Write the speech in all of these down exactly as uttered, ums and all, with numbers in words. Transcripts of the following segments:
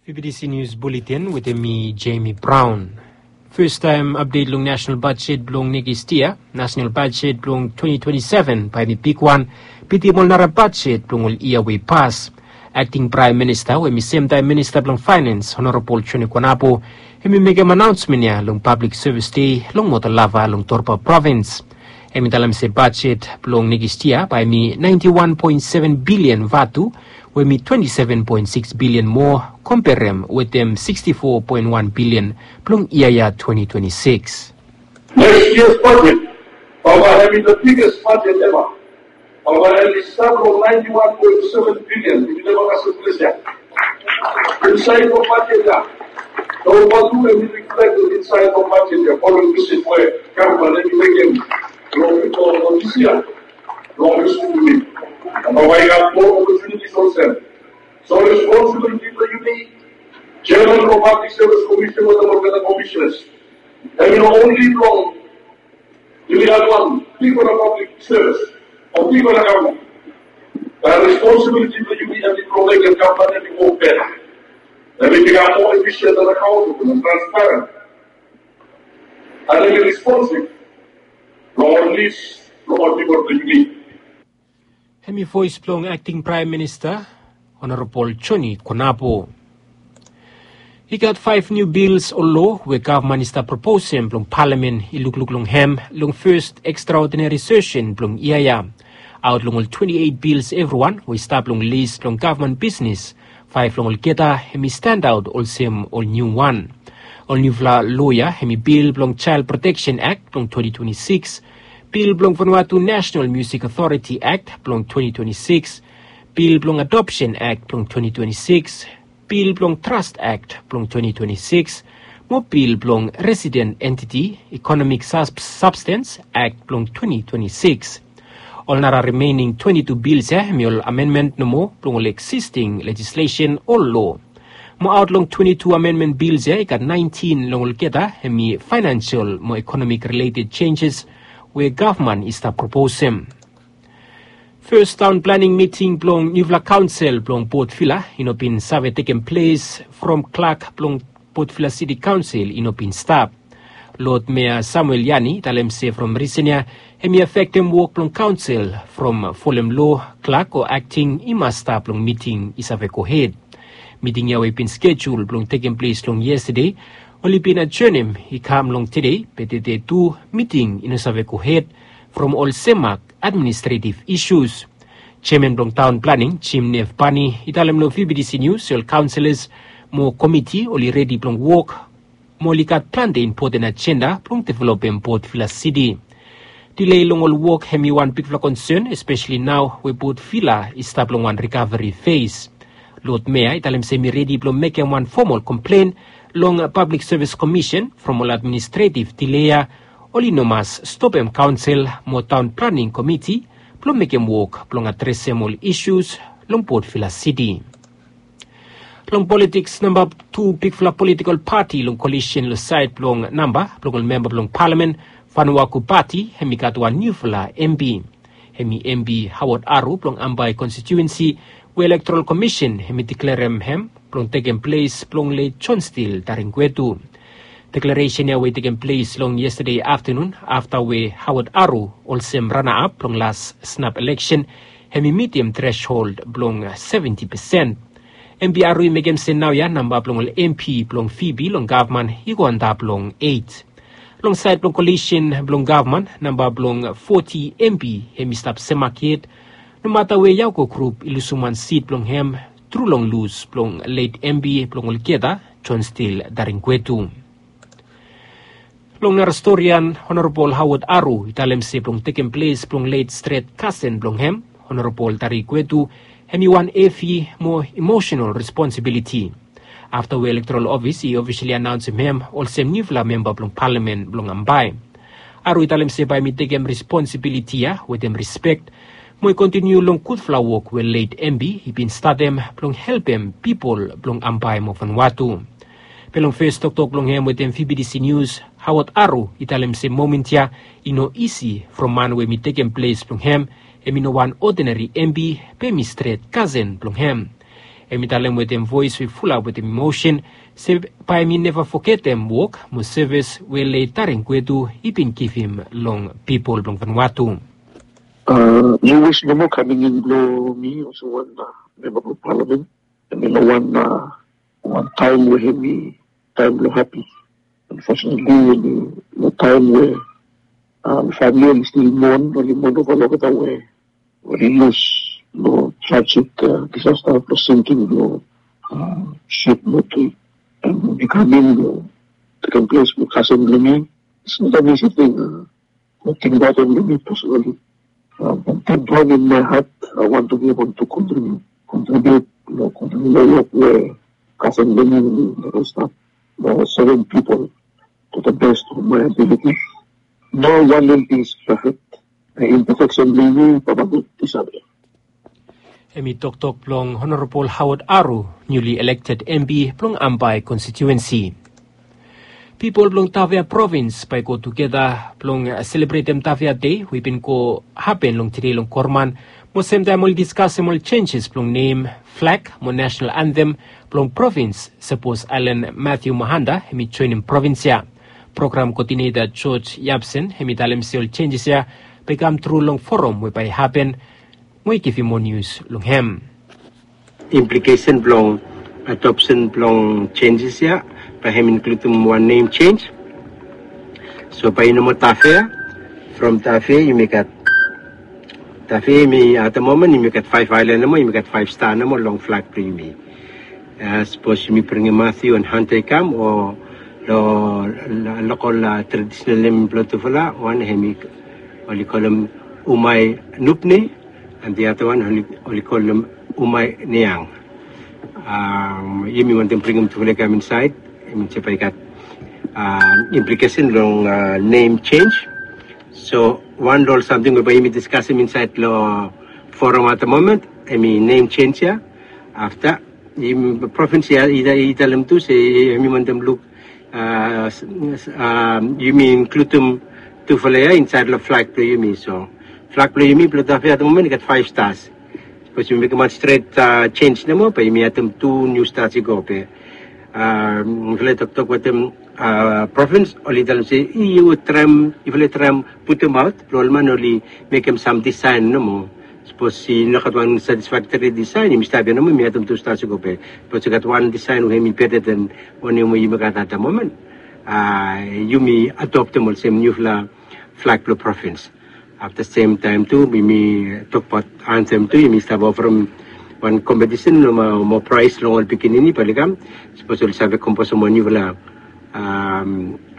P B T C News Bulletin wetem mi, Jamie Brown. Festaem apdet long nasenal bajet blong nekis yia, nasenal bajet blong twenty twenty-seven bae hemi bigwan, bitim ol nara bajet blong ol yia we i pas. Akting Praem Minista we hemi semtaem Minista blong Faenens, Honorabol Joni Konapo, hemi mekem anaonsmen ya long Pablik Sevis Dei long Motalava long Torba Provins. Hemi talem se bajet blong nekis yia bae hemi naenti wan poen seven bilian vatu, we hemi twenti seven poen sikis bilian moa komberem wetem siksti fo poen wan bilian blong yia ya twenti twenti sikis. Next year's budget, bae hemi the biggest budget ever. Bae hemi stap long naenti wan poen seven bilian, hemi neva kasem ples ya. Insaed long bajet ya, nao vatu hemi reflected insaed long bajet ya, following visit we gavman hemi mekem long, long, long dis yia. Long dis yia. Bae i gat moa opportunities olsem. So responsibility blong yumi, Chairman blong Pablik Sevis Komisen wetem olgeta komisenas, hemi no onli blong yumi gat wan bigfala pablik sevis o bigfala gavman. Bae responsibility blong yumi hemi blong mekem gavman hemi wok beta. Hemi bikam moa efisien, akaontebol, transparent. An hemi responsiv long ol nis blong ol pipol blong yumi. Hemi voes blong Akting Praem Minista, Honorabol Joni Konapo. I gat faef niu bils o loa we gavman i stap proposem blong palamen i lukluk long hem long fes ekstraodinari sesen blong yia ya. Aot long ol twenti eit bils evriwan we i stap long lis blong gavman bisnes, faef long olgeta hemi standaot olsem ol niuwan. Ol niufala loa ya hemi bil blong Jael Proteksen Akt blong twenti twenti sikis, bil blong Vanuatu Nasenal Miusik Otoriti Akt blong twenti twenti sikis, bil blong Adopsen Akt blong twenti twenti sikis, bil blong Tras Akt blong twenti twenti sikis, mo bil blong Residen Entiti Ikonomik Sabstens Akt blong twenti twenti sikis. Ol nara rimening twenti tu bils ya hemi ol amenmen nomo blong ol eksisting lejislesen o loa. Mo aot long twenti tu amenmen bils ya i gat naentin long olgeta hemi faenensel mo ikonomik rileted jenjes we gavman i stap proposem. Fes taon planing miting blong niufala kaonsel blong Port Vila i no bin save tekem ples from klak blong Port Vila Siti Kaonsel i no bin stap. Lod Mea Samuel Yani i talem se from risen ya hemi afektem wok blong kaonsel from folem loa, klak o akting i mas stap long miting i save gohed. Miting ya we i bin skejul blong tekem ples long yestade, oli bin ajenem i kam long tede, be tede tu miting i no save gohed from ol semak administretiv isus. Jeaman blong taon planing, Jim Nef Bani, i talem long V B T C Nius se ol kaonselas mo komiti oli redi blong wok, mo oli gat plante impoten ajenda blong developem Port Vila Siti. Dilei long ol wok hemi wan bigfala konsen, espeseli nao we Port Vila i stap long wan rikaveri fes. Lod Mea i talem se hemi redi blong mekem wan fomol komplen long Pablik Sevis Komisen from ol administretiv dilei ya oli no mas stopem kaonsel mo taon planing komiti blong mekem wok blong adresem ol isus long Port Vila Siti. Long politiks, namba tu bigfala politikol pati long kolisen long saed blong namba blong ol memba blong palamen, Vanuatu Pati, hemi gat wan niufala M P. Hemi M P Howard Aru blong Ambae konstitiuensi, we Elektorol Komisen hemi deklarem hem blong tekem ples blong let John Steele Taringwetu. Deklaresen ya we i tekem ples long yestade aftanun afta we Howard Aru, olsem ranaap blong las snap eleksen, hemi mitim treshold blong seventi pesen. M P Aru i mekem se naoia namba blong ol M P blong Phoebe long gavman i go antap long eit. Long saed blong kolisen blong gavman, namba blong foti M P hemi stap semak yet, nomata we Yauco Group i lusum wan sit blong hem tru long lus blong let M P blong olgeta, John Steele Taringwetu. Long nara storian, Honorabol Howard Aru i talem se blong tekem ples blong let stret kasen blong hem, Honorabol Taringwetu, hemi wan hevi mo emosenal responsibiliti. Afta we Elektorol Ofis i ofisali anaonsem hem olsem niufala memba blong palamen blong Ambae, Aru i talem se bae hemi tekem responsibiliti ya wetem rispek, mo i kontiniu long gudfala wok we let M P i bin statem blong helpem pipol blong Ambae mo Vanuatu. Be long fes toktok blong hem wetem V B T C Nius, Howard Aru i talem se momen ya i no isi from man we hemi tekem ples blong hem, hemi no wan odinari M P, be hemi stret kasen blong hem. Hem i talem wetem voes we fulap wetem emosen se bae hem i neva fogetem wok mo sevis we late Taring Gwetu i bin givim long pipol blong Vanuatu. Niu wis nomo kaming in blong mi olsem wan memba blong palamen, hem i long wan wan taem we hem i taem blong hapi. Unfortunately, long taem we famili oli stil mon, oli mon ova olgeta we oli lus long trajik disasta blong sinking blong sip Motui. Hem i kam in blong tekem ples blong kasen blong mi. It's not an easy thing. Noting baot hem long mi personally. From deep down in my heart, I want to be able to contribute, contribute, you know, contribute the work where cousin Lenin, the rest of the seven people to the best of my ability. No one will be perfect. The imperfection may be, but I will disagree. Hem i toktok blong Honorabol Howard Aru, niuli elekted M P blong Ambae konstituensi. Pipol blong Tavea provins bae i go tugeta blong selebretem Tavea Dei we i bin go hapen long tede long gavman, mo semtaem oli diskasem ol jenjes blong nem, flag mo nasenal antem blong provins, sapos Alan Matthew Mahanda hem i joenem provins ya. Program koodineta George Yapsen hem i talem se ol jenjes ya bae i kam tru long foram we bae i hapen, mo i givim moa nius long hem. Implikesen blong adopsen blong jenjes ya bae hem i inkludim wan nem jenj. So bae i no moa Tavea. From Tavea yumi gat Tavea yumi at the moment yumi gat faef aelan nomo, yumi gat faef sta nomo long flag blong yumi. Sapos yumi bringim Matthew and Hunter i kam o long lokol tradisenal nem blong tufala, wan hem i oli kolem Umai Nupne, and the other one oli kolem Umai Niang. Yumi wantem bringim tufala i kam insaed. Hem i se bae i gat implikesen long nem jenj. So wan long ol samting we bae yumi diskasem insaed long foram at the moment, hem i nem jenj ya. Afta provins ya i talem tu se hem i wantem luk yumi inkludim tufala ya insaed long flag blong yumi. So flag blong yumi blong Tavea at the moment i gat faef stas. Sapos yumi mekem wan stret jenj nomo bae yumi adem tu niu stas i go be. Mifala i toktok wetem provins, oli talem se yufala i traem, yufala i traem putumaot blong ol man oli mekem sam disaen nomo. Sapos i no gat wan satisfaktori disaen, yumi stap ya nomo, yumi adem tu stas i go be. Sapos i gat wan disaen we hem i beta den wanem we yumi gat at the moment, yumi adoptem olsem niufala flag blong provins. Afta semtaem tu yumi tokbaot antem tu, yumi stap ofarim wan kompetisen mo praes long ol pikinini bae oli kam, sapos oli save komposem wan niufala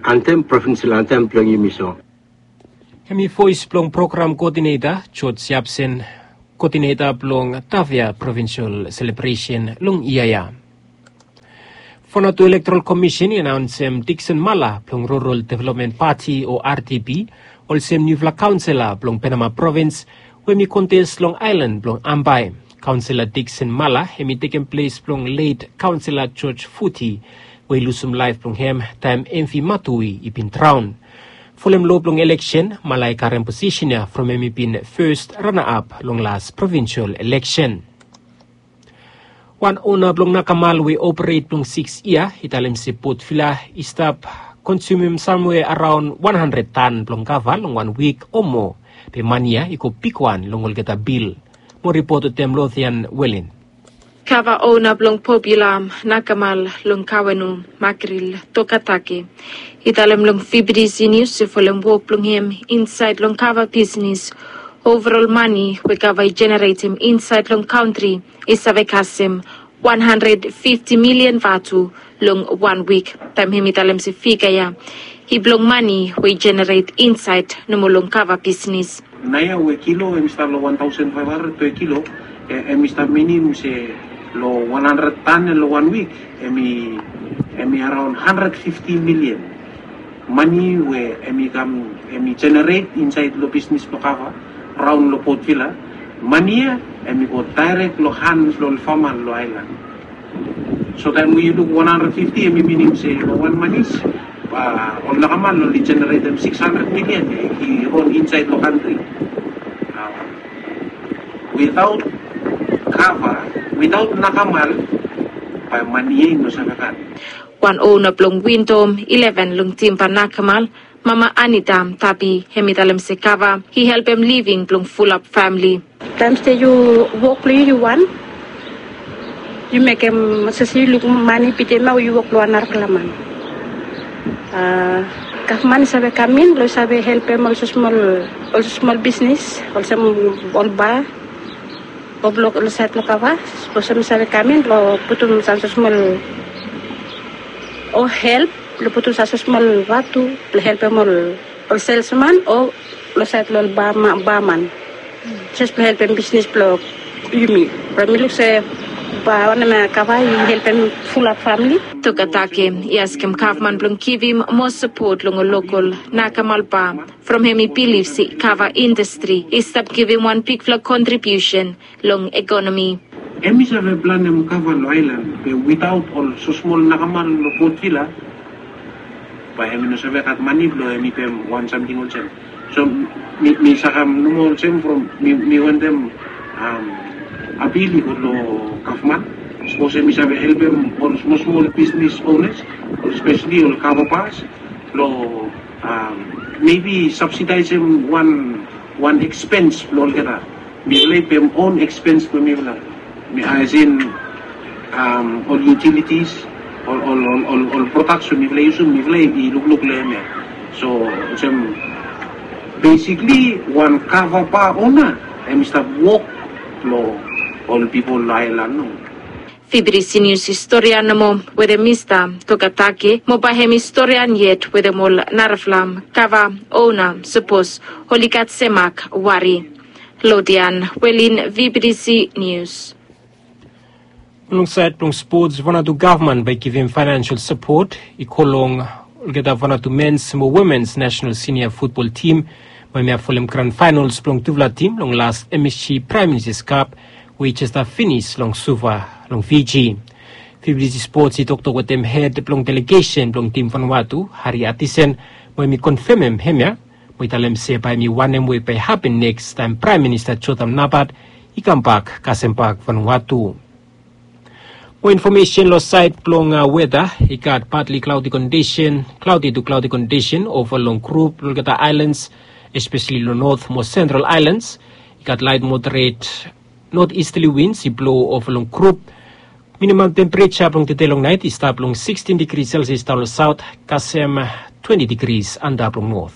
antem, provinsel antem blong yumi. So hem i voes blong program koodineta George Yapsen, koodineta blong Tavea provinsel selebresen long yia ya. Vanuatu Elektoral Komisen i anaonsem Dixon Mala blong Rural Development Pati o R D P olsem niufala kaonsela blong Penama provins, we hem i kontes long aelan blong Ambae. Kaonsela Dixon Mala hem i tekem ples blong late kaonsela George Futi, we i lusum laef blong hem taem M V Matui i bin draon. Folem loa blong eleksen, Mala i karem posisen ya from hem i bin fes rana ap long las provinsel eleksen. Wan ona blong nakamal we i operet blong sikis yia i talem se Port Vila i stap konsumem samwe araon wan handred tan blong kava long wan wik o moa. Be mane ya i go bigwan long olgeta bil. Mo ripot wetem Lothian Welin. Kava ona blong Port Vila, nakamal long Kawenu, Makril Tokatake, i talem long V B T C News se folem wok blong hem insaed long kava bisnis, ovarol mane we kava i jeneretem insaed long kantri i save kasem wan handred fifti milian vatu long wan wik. Taem hem i talem se figa ya i blong mane we i jeneret insaed nomo long kava bisnis. Naoia we kilo hem i stap long wan taosen faef handred pe kilo, hem i stap minim se long wan handred tan long wan wik, hem i araon handred fifti milian. Mane we hem i kam, hem i jeneret insaed long bisnis blong kava raon long Port Vila, mane ya hem i go daerek long han blong ol fama long aelan. So taem we yu luk wan handred fifti, hem i minim se long wan manis, ol nakamal oli jeneretem sikis handred milian i ron insaed long kantri. Witaot Kava witaot nakamal, bae mani ia i no save gat. Wan ona blong windom ileven long timba nakamal, mama Anita Tabi, hem i talem se kava i helpem living blong fulap famili. Taem se yu wok blong yu yu wan, yu mekem sasi yu luk mani bitim au yu wok long wan narafala man. Gavman i save kam in blong i save helpem olsem smol olsem smol bisnis olsem ol ba o blok ol saed blong kava. Olsem i save kam in blong putum sam smol o help blong putum sam smol watu blong helpem ol ol selsman o long saed long ol baman. Jes blong helpem bisnis blong yumi. Bro mi luk se ba wanem ya kava i helpem fulap famili. Tokatake i askem gavman blong givim moa sapot long ol lokol nakamal ba from hem i bilif se kava indastri i stap givim wan bigfala kontribiusen long ekonomi. Hem i save planem kava long aelan be witaot ol sosmol nakamal long bot vila, bae hem i no save gat mani blong hem i pem wan samting olsem. So mi sakam nomo olsem from mi wantem apil i go long gavman sapos hem i save helpem ol smol smol bisnis onas, espeseli ol kava bas, long mebi sabsidaesem wan wan ekspens blong olgeta. Mifala i pem on ekspens blong mifala, asin ol utilitis, ol prodaks we mifala i yusum, mifala i lukluk long hem ya. So olsem besikli wan kava ba ona hem i stap wok long ol pipol long aelan. No. Fibri sinius historia nomo wetem mista tokatake mo bae hem historian yet wetem ol narafala kava ona sapos oli gat semak wari. Lodian welin, vibidisi nius. Long saed blong spots vanatu gavman bae givim faenansial sapot i go long olgeta vanatu mens mo womens nasenal sinia futbol tim, bae hem i folem gran faenals blong tufala tim long las msg praem ministas kap we i jes stap finis long suva long fiji. Fibidisi spots i toktok wetem hed blong delegesen blong tim vanwatu hari atisen, mo hem i konfemem hem ya mo i talem se bae hem i wanem we bae hapen neks taem praem minista jotam nabat i kambak kasem bak vanwatu. Mo infomesen long saed blong weta, i gat patli klaodi kondisen klaodi tu klaodi kondisen ova long grup blong olgeta aelans, espeseli long not mo sentral aelans. I gat laet moderet not istali wins i blo ova long grup. Minimam tempereja blong tede long naet i stap long sikstin digri selsias daon long saot kasem twenti digris antap long not.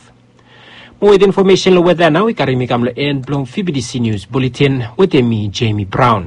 Mo wet infomesen long weta nao i karim mi kam long en blong fibidisi nius buletin wetem mi jemi braon.